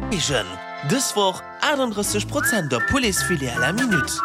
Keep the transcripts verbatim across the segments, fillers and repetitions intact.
Vision. Dës Woch achtundrësseg Prozent op Pouletsfilet à la minute.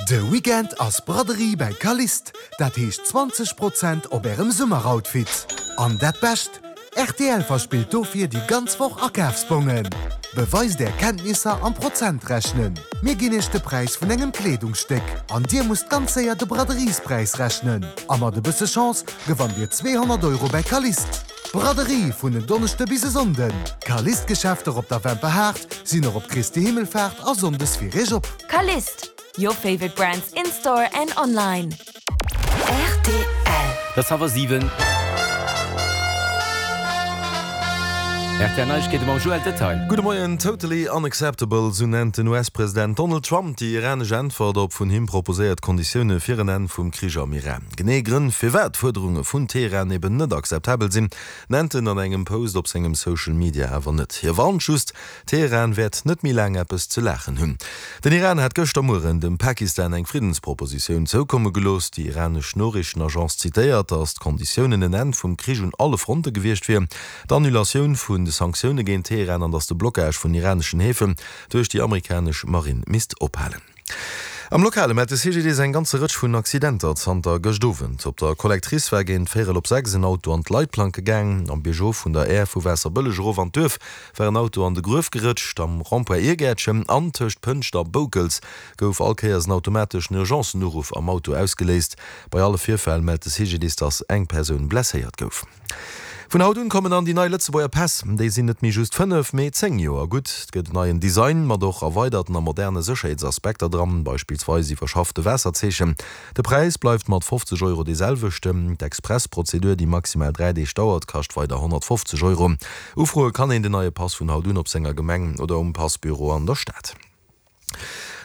De Weekend ass Braderie bei Calliste, dat heescht zwanzeg Prozent op ärem Summeroutfit. An dat Bescht, R T L verspillt dofir déi ganz Woch Akafsbongen. Beweist är Kenntnisser am Prozentrechnen. Mir ginn iech de Präis vun engem Kleedungsstéck an dir musst ganz séier de Braderiespräis rechnen. A mat e bësse Chance gewannt dir zweehonnert Euro bei Calliste. Braderie vun en Donneschde bis e Sonnden. Calliste-Geschäfter op der Wemperhaart sinn och op Christi Himmelfaart a Sonndes fir iech op. Calliste, your favorite brands in store and online. R T L. Et ass hallwer siwen. R T L Neiegkeete mam Joël Detail. Gudde Moien. Totally unacceptable, sou nennt den U S-President Donald Trump déi iranesch Äntwert op vun him proposéiert Konditioune fir en Enn vum Krich am Iran. Genee Grënn, firwat d'Fuerderunge vun Teheran eben net akzeptabel sinn, nennt en an engem Post op sengem Social Media awer net. Hie warnt just, Teheran wäert net méi laang eppes ze laachen hunn. Den Iran hat gëschter Mueren dem Pakistan eng Friddenspropositioun zoukomme gelooss. Déi iranesch Noriichtenagence zitéiert, datt d'Konditiounen en Enn vum Krich un alle Fronte gewiescht wier, d'Annulatioun vun de Sanktioune géint Teheran an datt de Blockage vun iraneschen Häfen duerch déi amerikanesch Marinn misst ophalen. Am Lokale mellt de C G D I S eng ganze Rëtsch vun Accidenter zanter gëscht Owend. Op der Collectrice war géint véierel op sechs en Auto an d'Leitplanke gaang. Am Biergof vun der Aire vu Waasserbëlleg erof an d'Duerf war en Auto an de Gruef gerëtscht. Am Rond-point Iergäertchen an tëscht Pënscht a Boukels gouf all Kéiers en automateschen Urgencen-Uruff am Auto ausgeléist. Bei alle Virfäll mellt de C G D I S, datt eng Persoun blesséiert gouf. Vun haut un kommen dann déi nei Lëtzebuerger Päss. Déi sinn net méi just fënnef, mee zéng Joer gutt. Et gëtt en neien Design mat och erweiderten a moderne Sécherheetsaspekter dran, beispillsweis iwwerschaffte Waasserzeechen. De Präis bleift mat fofzeg Euro dee selwechten. D'Express-Prozedur, déi maximal dräi Deeg dauert, kascht weider honnertfofzeg Euro. Ufroe kann een den neie Pass vun haut un op senger Gemeng oder um Passbüro an der Stad.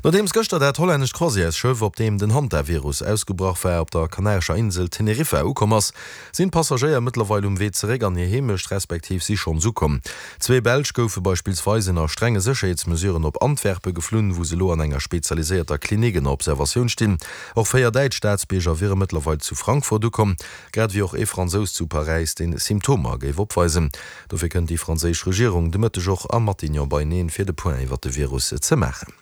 Nodeems gëschter dat hollännescht Croisièresschëff, op deem den Hantavirus ausgebrach war, op der kanarescher Insel Teneriffa ukomm ass, sinn d'Passagéier mëttlerweil um Wee zeréck an hir Heemecht, respektiv si schonns ukomm. Zwee Belsch goufe beispillsweis ënner strenge Sécherheetsmesuren op Antwerpe geflunn, wou se elo an enger spezialiséierter Klinik ënner Observatioun stinn. Och véier däitsch Staatsbierger wiere mëttlerweil zu Frankfurt ukomm, grad ewéi och ee Fransous zu Paräis, dee Symptomer géif opweisen. Dofir kënnt déi franséisch Regierung de Mëtteg och am Matignon beieneen, fir de Point iwwer de Virus ze maachen.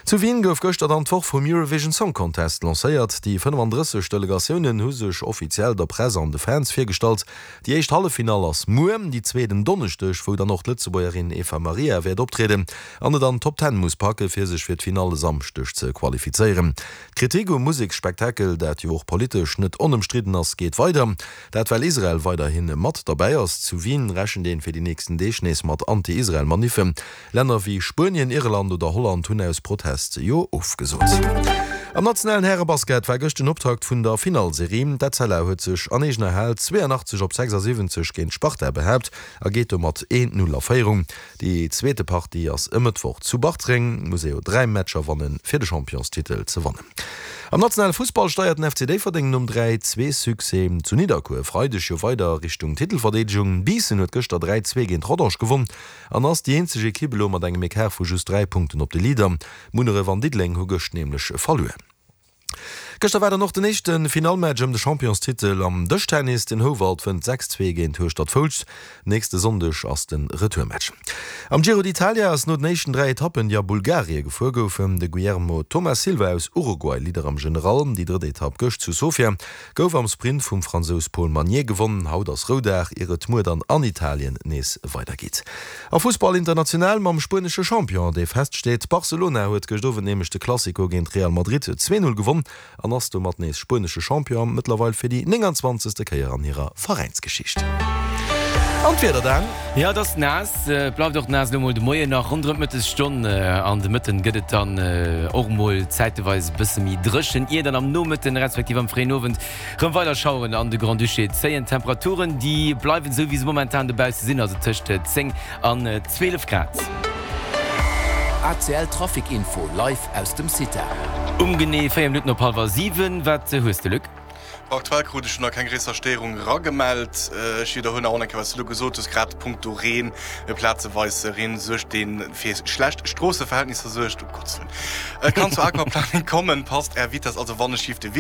Zu Wien gouf gëschter dann d'Woch vum Eurovision Song Contest lancéiert. Déi fënnefandrësseg Delegatiounen hu sech offiziell der Press an de Fans virgestallt. Déi éischt Halleffinall ass muer, déi zweet en Donneschdeg, wou dann och d'Lëtzebuergerin Eva Maria wäert optrieden an et an d'Top Ten muss packe fir sech fir d'Finall e Samschdeg ze qualifizéieren. D'Kritik um Museksspektakel, dat jo och politesch net onëmstridden ass, geet weider. Dat well Israel weiderhi mat derbäi ass. Zu Wien rechent een fir déi nächsten Deeg nees mat Anti-Israel-Maniffen. Länner wéi Spuenien, Irland oder Holland hunn aus Protest jo ofgesot. Am nationalen Härebasket war gëscht den Optakt vun der Finallserie. D'Etzella huet sech an eegener Hal zweeanachtzeg op sechsasiwwenzeg géint d'Sparta behaapt a geet domat een Null a Féierung. Déi zweete Partie ass e Mëttwoch zu Bartreng. Muss ee jo dräi Matcher wannen, fir de Championstitel ze wannen. Am nationale Fussball steiert den F C Déifferdeng nom dräi zwee Succès zu Nidderkuer e Freideg jo weider Richtung Titelverdeedegung. Biissen huet gëschter dräi zwee géint Rodange gewonn an ass déi eenzeg Ekipp elo mat engem Ecart vu just dräi Punkten op de Leader. Munneref an Diddeleng hu gëscht nämlech verluer. Gëschter war dann och den éischte Finallmatch ëm de Championstitel am Dëschtennis. Den Houwald wënnt sechs zwee géint Hueschtert-Foulscht. Nächste Sonndeg ass de Retourmatch. Am Giro d'Italia ass no den éischten dräi Etappen, déi a Bulgarie gefuer goufen, de Guillermo Thomas Silva aus Uruguay Leader am General. Déi drëtt Etapp gëscht zu Sofia gouf am Sprint vum Fransous Paul Magnier gewonnen. Haut ass Roudag, ier et muer dann an Italien nees weidergeet. A Fussball international mam spuenesche Champion, dee feststeet. Barcelona huet gëscht Owend nämlech de Clasico géint Real Madrid zwee Null gewonn an ass domat nees spuenesche Champion, mëttlerweil fir déi nénganzwanzegste Kéier an hirer Veräinsgeschicht. An d'Wieder dann? Jo, et ass naass, et bleift och naass elo mol de Moien nach ronderëm d'Mëttesstonn. An de Mëtten gëtt et dann och mol zäiteweis e bësse méi dréchen, ier dann am Nomëtten respektiv am fréien Owend rëm weider Schaueren an de Grand-Duché zéien. D'Temperaturen, déi bleiwen esou wéi se momentan dobausse sinn, also tëscht zéng an zwielef Grad. A C L Trafic Info live aus dem CITA. Um genee véier Minutten op hallwer siwen. Wat hues de, Luc? Aktuell krut ech nach keng gréisser Stéierung eragemellt. Ech widderhuelen nach eng Kéier, wat s du elo gesot hues, grad punkto Reen, plazeweis Reen suergt, dee fir schlecht Stroosseverhältnisser suergt. Um Gottes Wëllen. Et kann zu Aquaplaning kommen, passt Är Vitess also wann e schief de Wieder.